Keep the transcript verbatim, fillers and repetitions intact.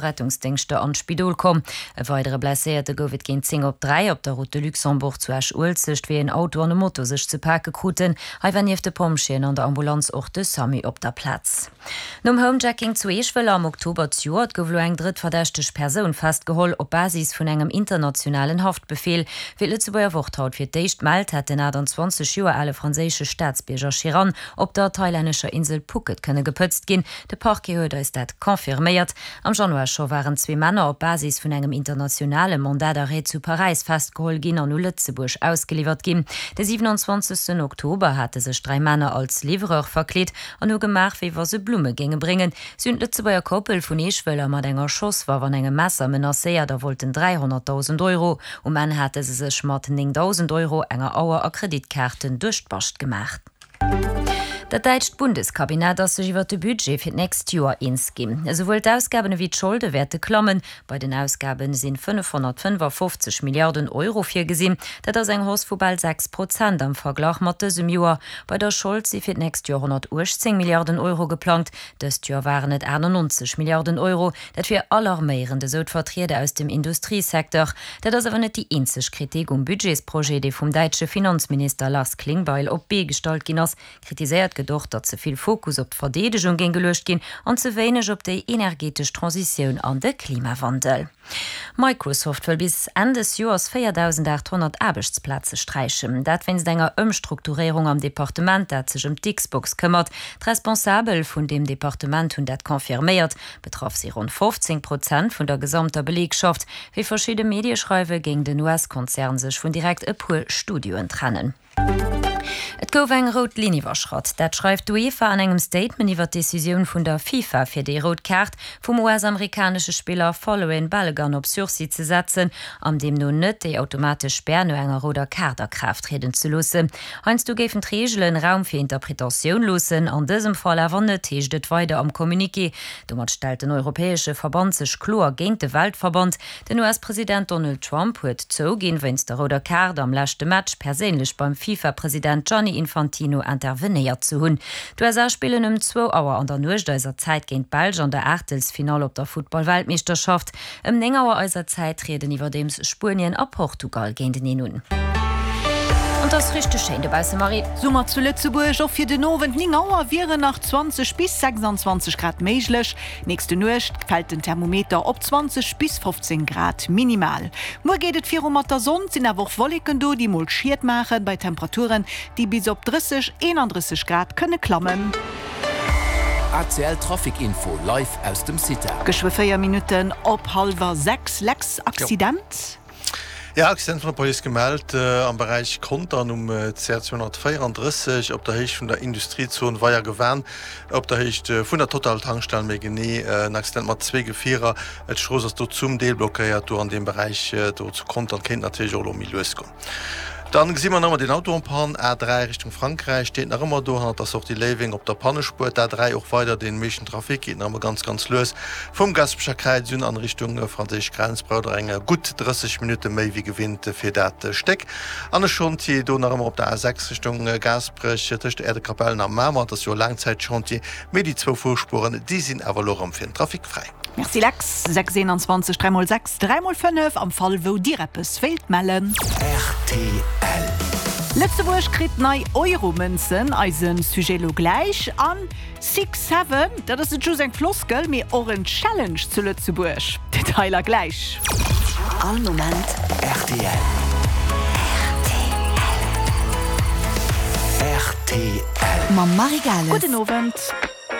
Rettungsdéngschter an d'Spidol komm. E weidere Blesséierte gouf et géint zéng op dräi op der Route de Luxembourg zu Esch-Uelzecht, wéi en Auto an e Moto sech ze pake kruten. Hei war nieft de Pompjeeën an der Ambulanz och de Samu op der Plaz. Nom Homejacking zu Eeschwëller am Oktober zejoert gouf elo eng drëtt verdächteg Persoun festgeholl, op Basis vun engem internationalen Haftbefeel. Wéi d'Lëtzebuerger Wort haut fir d'éischt mellt, hätt den achtanzwanzeg Joer ale franséische Staatsbierger Chiran op der thailännescher Insel Phuket kënne gepëtzt ginn. De Parquet huet eis dat confirméiert. Am Januar scho waren zwee Männer op Basis vun engem internationale Mandat d'arrêt zu Paräis festgeholl ginn an u Lëtzebuerg ausgeliwwert ginn. De siewenundzwanzegsten Oktober hate sech dräi Männer als Livreur verkleet an hu gemaach, wéi wa se Blumme géinge bréngen. Si hunn d'Lëtzebuerger Koppel vun Eeschwëller mat enger Schosswaff an engem Messer menacéiert a wollten dräihonnertdausend Euro. Um Enn hate se sech mat néngdausend Euro, enger Auer a Kreditkaarten duerch d'Bascht gemaach. Dat däitscht Bundeskabinett ass sech iwwer de Budget fir d'nächst Joer eens ginn. Esouwuel d'Ausgaben ewéi d'Scholde wäerte klammen. Bei den Ausgabe si fënnefhonnertfënnefafofzeg Milliarden Euro virgesinn. Dat ass eng Hausse vu bal sechs Prozent am Verglach mat dësem Joer. Bei der Schold si fir d'nächst Joer honnertuechtzéng Milliarden Euro geplangt. Dëst Joer waren et achtannonzeg Milliarden Euro. Dat wier alarméierend, esou d'Vertrieder aus dem Industriesecteur. Dat ass awer net déi eenzeg Kritik um Budgetsprojet, dee vum däitsche Finanzminister Lars Klingbeil op d'Bee gestallt ginn ass. Kritiséiert gëtt och, datt ze vill Fokus op d'Verdeedegung géing geluecht ginn an ze wéineg op déi energetesch Transitioun an de Klimawandel. Microsoft wëll bis Enn des Joers véierdausendaathonnert Aarbechtsplaze sträichen. Dat wéinst enger Ëmstrukturéierung am Departement, dat sech ëm d'Xbox këmmert. D'Responsabel vun deem Departement hunn dat confirméiert. Betraff si ronn fofzéng Prozent vun der gesamter Beleegschaft. Wéi verschidde Medie schreiwen, géing den U S-Konzern sech vun direkt e puer Studioen trennen. Et gouf eng rout Linn iwwerschratt. Dat schreift d'UEFA an engem Statement iwwer d'Decisioun vun der FIFA, fir déi rout Kaart vum U S-amerikanesche Spiller Folarin Balogun op Sursis ze setzen an deemno net déi automatesch Spär no enger rouder Kaart a Kraaft trieden ze loossen. Heiansdo géifen d'Reegelen Raum fir Interpretatioun loossen, an dësem Fall awer net, heescht et weider am Communiqué. Domat stellt den europäesche Verband sech kloer géint de Weltverband. Den U S-President Donald Trump huet zouginn, wéinst der rouder Kaart am leschte Match perséinlech beim FIFA-President Gianni Infantino intervenéiert ze hunn. D'U S A spillen ëm zwou Auer an der Nuecht eiser Zäit géint d'Belsch an der Aachtelsfinall op der Futtball-Weltmeeschterschaft. Ëm néng Auer eiser Zäit trieden iwwerdeems Spuenien a Portugal géinteneen un. An et ass richteg schéin dobausse, Marie. Summer zu Lëtzebuerg, och fir den Owend néng Auer wieren nach zwanzeg bis sechsanzwanzeg Grad méiglech. Nächste Nuecht fält den Thermometer op zwanzeg bis fofzéng Grad minimal. Muer geet et viru mat der Sonn, et sinn awer och Wolleken do, déi mol Schied maachen, bei Temperaturen, déi bis op drësseg, eenandrësseg Grad kënne klammen. A C L Trafic Info live aus dem CITA. Geschwë véier Minutten op hallwer sechs, Lex, Accident? Jo, Accident vun der Police gemellt am Beräich Contern um C R zweehonnertvéierandrësseg op der Héicht vun der Industriezon Weier-Gewan, op der Héicht vun der Total-Tankstell méi genee. En Accident mat zwee Gefierer. D'Strooss ass do zum Deel blockéiert. Do an deem Beräich do zu Contern kéint natierlech och elo méi lues goen. Dann gesi mer nach ëmmer deen Auto en panne, A dräi Richtung Frankräich, steet nach ëmmer do hannert der Sortie Léiweng op der Pannespuer. D'A dräi och weider, dee meeschten Trafic geet nach ëmmer ganz, ganz lues vum Gaspecher Kräiz un an Richtung franséisch Grenz, braucht der eng gutt drësseg Minutte méi wéi gewinnt fir dat Stéck. An e Chantier do nach ëmmer op der A sechs Richtung Gaasperech tëscht Äerdekapellen a Mamer, et ass jo e Laangzäitchantier, mee déi zwou Fuerspueren, déi sinn awer elo erëm fir den Trafic fräi. Merci Lex. Sechs eenanzwanzeg dräi mol sechs dräi mol fënnef am Fall wou Dir eppes wéilt mellen. R T L. Lëtzebuerg kritt nei Euro-Mënzen, eise Sujet lo gläich. An Six Seven, dat ass net just eng Floskel, mee och en Challenge zu Lëtzebuerg. Detailer gläich. All Moment R T L. R T L. Mam Marie Gales. Gudden Owend.